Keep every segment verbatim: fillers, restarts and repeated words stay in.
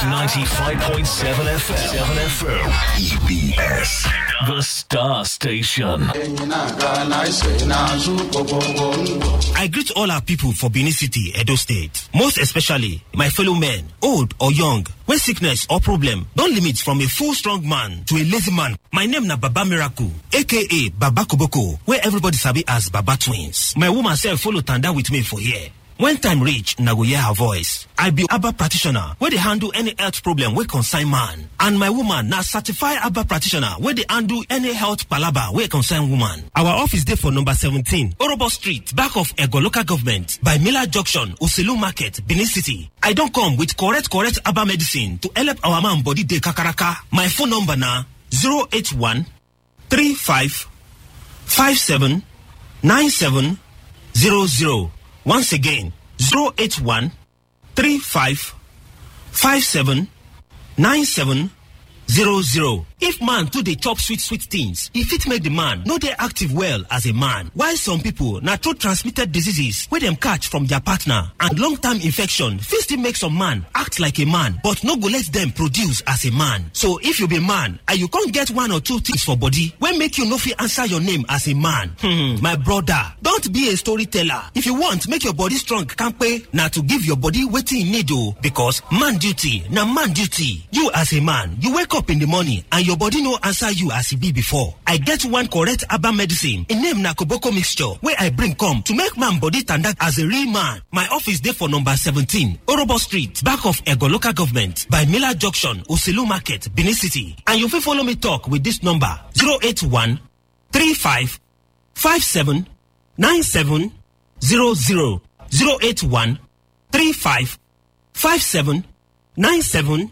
ninety-five point seven F M. seven F M. E B S. The Star Station. I greet all our people for Benin City, Edo State. Most especially, my fellow men, old or young, when sickness or problem don't limit from a full strong man to a lazy man. My name na Baba Miracle, A K A Baba Koboko, where everybody sabi as Baba Twins. My woman sef follow tanda with me for here. When time reach, na go hear her voice. I be Abba practitioner, where they handle any health problem where concern man. And my woman na certified Abba practitioner, where they handle any health palaba where concern woman. Our office dey for number seventeen, Orobo Street, back of Ego Local Government, by Miller Junction, Uselu Market, Benin City. I don't come with correct, correct Abba medicine to help our man body dey kakaraka. My phone number na zero eight one three five five seven nine seven zero zero. Once again, zero eight one three five five seven nine seven zero zero. If man too dey chop sweet, sweet things, e fit make the man no dey active well as a man. Why some people na through transmitted diseases wey dem catch from their partner and long-term infection fit still make some man act like a man, but no go let them produce as a man. So if you be man and you can't get one or two things for body, wey make you no fit answer your name as a man. Hmm, my brother, don't be a storyteller. If you want make your body strong, kampe, na to give your body wetin e need o, because man duty na man duty. You as a man, you wake up in the morning and your body no answer you as e be before. I get one correct Abba medicine. E name na Koboko mixture, wey I bring come to make man body tanda as a real man. My office dey for number seventeen, Orobo Street, back of Ego Local Government, by Miller Junction, Uselu Market, Benin City. And you fit follow me talk with this number, zero eight one three five five seven nine seven zero zero. zero eight one three five five seven nine seven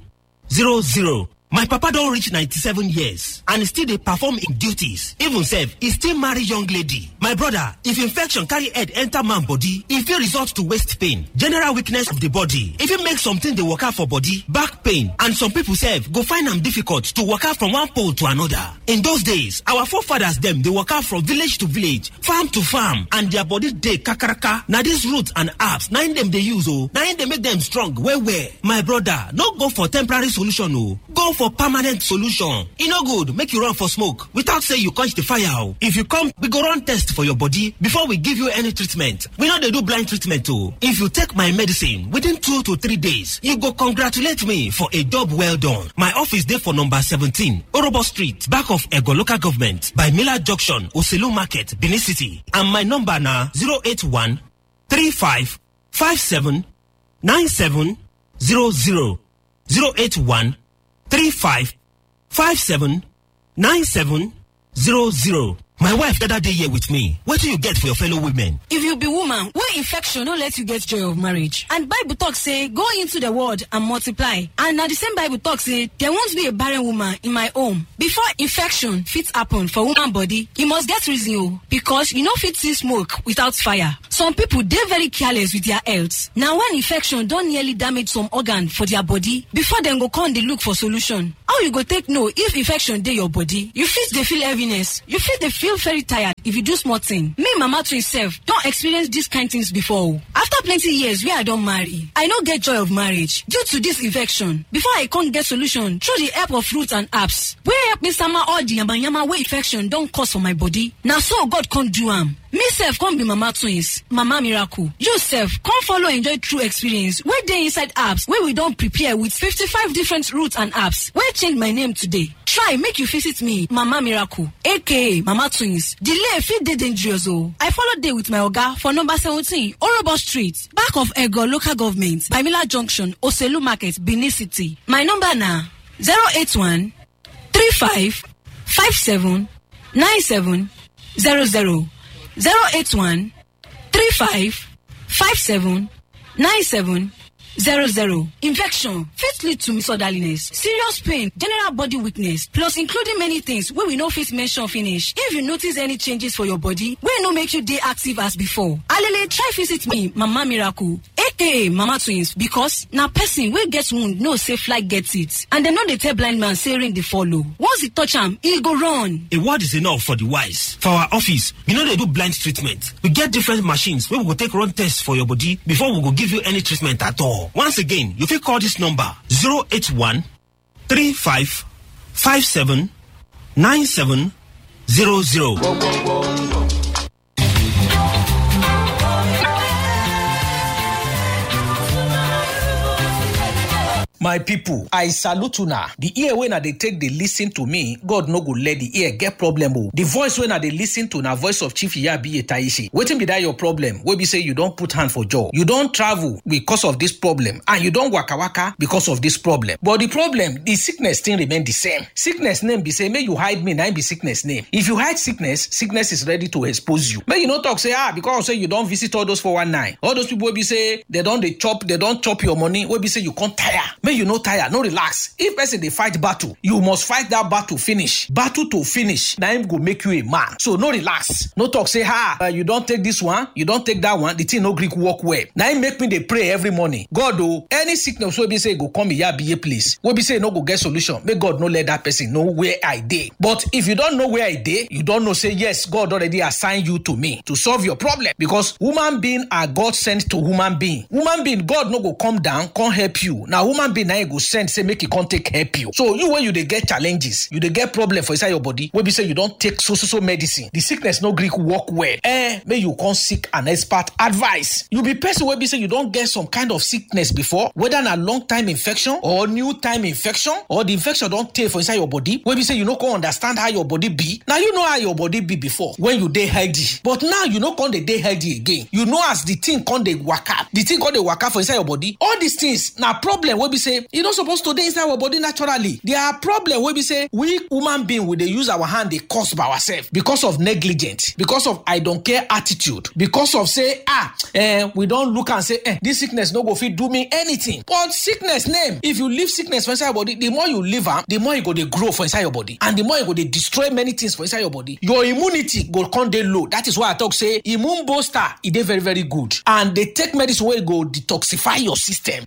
zero zero. My papa don reach ninety-seven years and still dey perform im duties. Even sef, e still marry young lady. My brother, if infection carry head enter man body, e fit result to waist pain, general weakness of the body. E fit make something dey waka for body, back pain, and some people sef go find am difficult to waka from one pole to another. In those days, our forefathers dem dey waka from village to village, farm to farm, and their body dey kakaraka. Na this root and herbs, na im dem dey use o. Na im dey make them strong well well. My brother, no go for temporary solution o. Go for permanent solution. E no good make you run for smoke without say you quench the fire o. If you come, we go run test for your body before we give you any treatment. We no dey do blind treatment o. If you take my medicine, within two to three days, you go congratulate me for a job well done. My office dey for number seventeen, Orobo Street, back of Ego Local Government, by Miller Junction, Uselu Market, Benin City. And my number na zero eight one three five five seven nine seven zero zero. zero eight one three five five seven nine seven zero zero. My wife gather dey here with me. Wetin you get for your fellow women? If you be woman wey infection no let you get joy of marriage, and Bible talk say, "Go into the world and multiply," and na the same Bible talk say there won't be a barren woman in my home. Before infection fit happen for woman body, e must get reason o, because you no fit see smoke without fire. Some people dey very careless with their health. Na when infection don nearly damage some organ for their body before dem go come dey look for solution. How you go take know if infection dey your body? You fit dey feel heaviness. You fit dey feel very tired if you do small thing. Me, Mama Twin sef don experience dis kind things before o. After plenty years wey I don marry, I no get joy of marriage due to dis infection. Before I come get solution through the help of roots and herbs wey help me sama all the yamayama wey infection don cause for my body. Na so God come do am. Me sef come be Mama Twins, Mama Miracle. You sef come follow enjoy true experience wey dey inside herbs wey we don prepare with fifty-five different roots and herbs wey change my name today. Try make you visit me, Mama Miracle, A K A Mama Twins. Delay fit dey dangerous o. I follow dey with my oga for number seventeen, Orobo Street, back of Ego Local Government, Bamila Junction, Oselu Market, Benin City. My number na zero eight one three five five seven nine seven zero zero. zero eight one three five five seven nine seven zero zero. Infection fit lead to misorderliness, serious pain, general body weakness, plus including many things wey we no fit mention finish. If you notice any changes for your body wey no make you dey active as before, alele, try visit me, Mama Miracle, A K A Mama Twins, because na person wey get wound know say fly get it, and dem no dey tell blind man say rain dey fall o. Once e touch am, e go run. A word is enough for the wise. For our office, we no dey do blind treatment. We get different machines wey we go take run tests for your body before we go give you any treatment at all. Once again, you fit call this number: zero eight one three five five seven nine seven zero zero. My people, I salute una. The ear wey una dey take dey listen to me, God no go let the ear get problem o. The voice wey una dey listen to na voice of Chief Iyabiye Taishi. Wetin be that your problem? Wey be say you don put hand for jaw. You don travel because of this problem, and you don waka waka because of this problem. But the problem, the sickness still remain the same. Sickness name be say, make you hide me, na im be sickness name. If you hide sickness, sickness is ready to expose you. Make you no talk say, ah, because say you don visit all those four one nine, all those people wey be say they don dey chop, they don chop your money, wey be say you come tire. Make you no tire, no relax. If person dey fight battle, you must fight that battle finish. Battle to finish, na im go make you a man. So no relax. No talk say, ha, uh, you don take this one, you don take that one, the thing no gree work well. Na im make me dey pray every morning. God o, any sickness wey be say e go come Iyabiye place, wey be say e no go get solution, make God no let that person know where I dey. But if you don know where I dey, you don know say yes, God already assign you to me to solve your problem, because human being are God sent to human being. Human being, God no go come down come help you. Na human being na im go send say make e come take help you. So you wey you dey get challenges, you dey get problem for inside your body, wey be say you don take so so so medicine, the sickness no gree work well. Eh, make you come seek an expert advice. You be person wey be say you don get some kind of sickness before, whether na long time infection or new time infection, or the infection don tey for inside your body, wey be say you no come understand how your body be. Now you know how your body be before when you dey healthy, but now you no come dey dey healthy again. You know as the thing come dey waka, the thing come dey waka for inside your body. All these things na problem wey be say e no suppose to dey inside our body naturally. There are problem wey be say we human being, we dey use our hand dey cause by ourselves because of negligence, because of I don't care attitude, because of say, ah, eh, we don look and say, eh, this sickness no go fit do me anything. But sickness name, if you leave sickness for inside your body, the more you leave am, the more e go dey grow for inside your body, and the more e go dey destroy many things for inside your body. Your immunity go come dey low. That is why I talk say immune booster, e dey very very good, and dey take medicine wey go detoxify your system.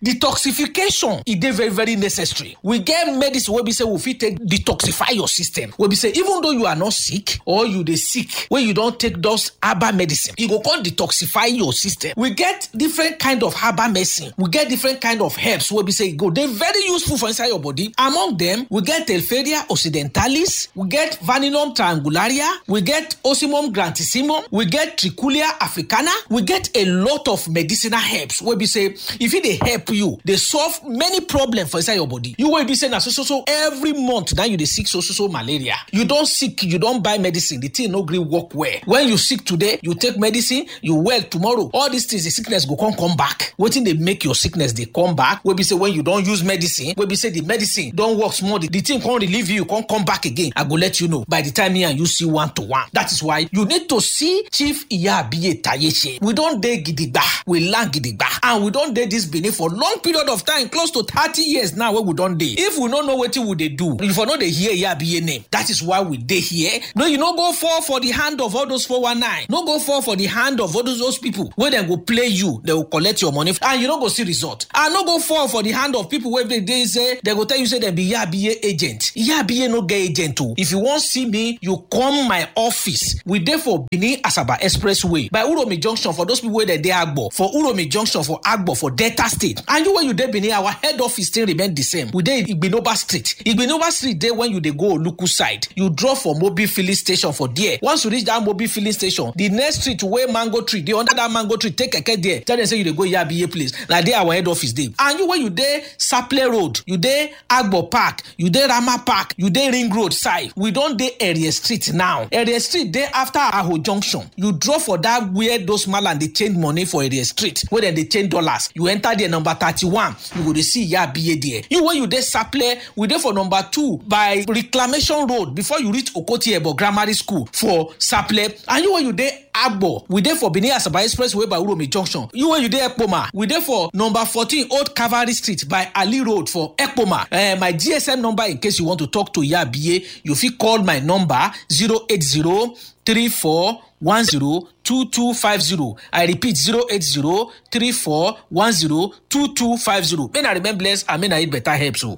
Detoxification, e dey very very necessary. We get medicine wey be say we fit take detoxify your system, wey be say even though you are not sick or you dey sick, wey you don take those herbal medicine, e go come detoxify your system. We get different kind of herbal medicine. We get different kind of herbs wey be say e go dey very useful for inside your body. Among them, we get Telferia occidentalis, we get Vanillum triangularia, we get Ocimum grantissimum, we get Trichulia africana. We get a lot of medicinal herbs wey be say if e dey help you, dey solve many problems for inside your body. You wey be say na so so so every month now you dey sick so so so malaria. You don sick, you don buy medicine, the thing no gree work well. When you sick today, you take medicine, you well tomorrow. All these things, the sickness go come come back. Wetin dey make your sickness dey come back? Wey be say when you don use medicine, wey be say the medicine don work small, the, the thing come relieve you, come come back again. I go let you know by the time me and you see one to one. That is why you need to see Chief Iyabiye Tayeche. We don dey gidigba, we land gidigba, and we don dey this Benin for long period of time, close to thirty years now wey we don dey. If we no know wetin we dey do, if we no dey hear Iyabiye name, that is why we dey here. No, you no go fall for the hand of all those four one nine. No go fall for the hand of all those, those people wey dem go play you, dem go collect your money, and you no go see result. And no go fall for the hand of people wey dey, dey say, dem go tell you say dem be Iyabiye agent. Iyabiye no get agent o. If you wan see me, you come my office. We dey for Benin Asaba Expressway by Uromi Junction for those people wey dey dey Agbo. For Uromi Junction for Agbo for Delta State. And you wey you dey Benin, our head office still remain the same. We dey Igbinoba Street. Igbinoba Street dey when you dey go Oluku side. You drop for Mobil filling station for there. Once you reach that Mobil filling station, the next street wey mango tree dey, under that mango tree, take keke there. Tell them say you dey go Iyabiye place. Na there our head office dey. And you wey you dey Saple Road, you dey Agbo Park, you dey Rama Park, you dey Ring Road side. We don dey Area Street now. Area Street dey after Aho Junction. You drop for that where those malam dey change money for Area Street, where dem dey change dollars. You enter there, number thirty-one. You go dey see Iyabiye there. You wey you dey Saple, we dey for number two by Reclamation Road before you reach Okoti Ebo Grammar School for Saple. And you wey you dey Agbo, we dey for Benin Asaba Expressway by Uromi Junction. You wey you dey Ekpoma, we dey for number fourteen Old Cavalry Street by Ali Road for Ekpoma. Eh, my G S M number in case you want to talk to Iyabiye, you fit call my number zero eight zero three four one zero two two five zero. I repeat, zero eight zero three four one zero two two five zero. May na remain blessed and may na eat better herbs o.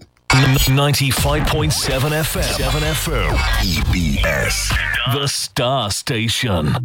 Ninety-five point seven F M. Seven F M. E B S. The Star Station.